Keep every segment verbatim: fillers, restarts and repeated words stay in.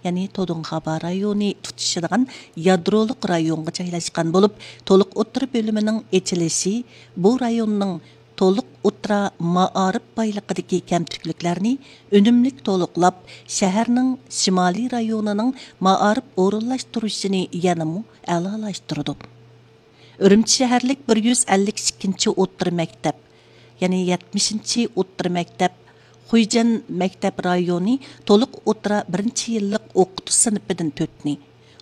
يەنى تودۇڭخابا رايونى تۇتىشىدىغان يادرولۇق رايونغا جايلاشقان بولۇپ، تولۇق ئوتتۇرا بۆلۈمىنىڭ ئېچىلىشى بۇ رايوننىڭ تولۇق ئوتتۇرا مائارىپ بايلىقىدىكى كەمتۈكلۈكلەرنى ئۈنۈملۈك تولۇقلاپ، شەھەرنىڭ شىمالىي رايونىنىڭ مائارىپ ئورۇنلاشتۇرۇشىنى يەنىمۇ ئەلالاشتۇرىدۇ. ئۈرۈمچى شەھەرلىك بىر يۈز ئەللىك ئىككىنچى ئوتتۇرا مەكتەپ، يەنى يەتمىشىنچى ئوتتۇرا مەكتەپ، خۇيجەن مەكتەپ رايونى تولۇق ئوتتۇرا بىرىنچى يىللىق ئوقۇتۇش سىنىپىدىن تۆتنى،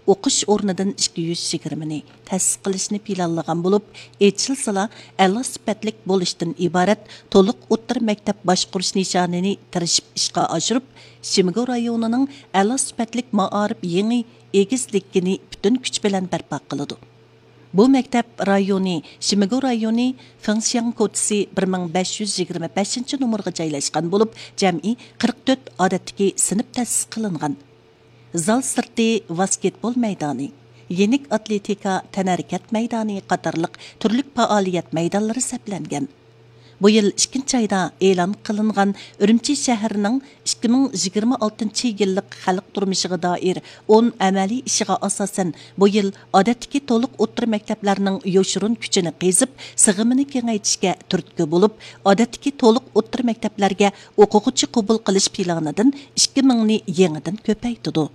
ئوقۇش ئورنىدىن ئىككى يۈز يىگىرمىنى تەسىس قىلىشنى پىلانلىغان بولۇپ، ئېچىلسىلا ئەلا سۈپەتلىك بولۇشتىن ئىبارەت تولۇق ئوتتۇرا مەكتەپ باشقۇرۇش نىشانىنى تىرىشىپ ئىشقا ئاشۇرۇپ، شىمگو رايونىنىڭ ئەلا سۈپەتلىك مائارىپ يېڭى ئېگىزلىكىنى پۈتۈن كۈچ بىلەن بەرپا قىلىدۇ. بۇ مەكتەپ رايونى شىمگو رايونى فېڭشياڭ كوچىسى بىر مىڭ بەش يۈز يىگىرمە بەشىنچى نومۇرغا جايلاشقان بولۇپ، جەمئىي قىرىق تۆت ئادەتتىكى سىنىپ تەسىس قىلىنغان. زال سىرتى ۋاسكېتبول مەيدانى، يېنىك ئاتلېتىكا، تەنھەرىكەت مەيدانى قاتارلىق تۈرلۈك پائالىيەت مەيدانلىرى سەپلەنگەن. بۇ يىل ئىككىنچى ئايدا ئېلان قىلىنغان ئۈرۈمچى شەھىرىنىڭ ئىككى مىڭ يىگىرمە ئالتىنچى يىللىق خەلق تۇرمۇشىغا دائىر ئون ئەمەلىي ئىشىغا ئاساسەن، بۇ يىل ئادەتتىكى تولۇق ئوتتۇرا مەكتەپلەرنىڭ يوشۇرۇن كۈچىنى قېزىپ، سىغىمىنى كېڭەيتىشكە تۈرتكە بولۇپ، ئادەتتىكى تولۇق ئوتتۇرا مەكتەپلەرگە ئوقۇغۇچى قوبۇل قىلىش پىلانىدىن ئىككى مىڭنى يېڭىدىن كۆپەيتىدۇ.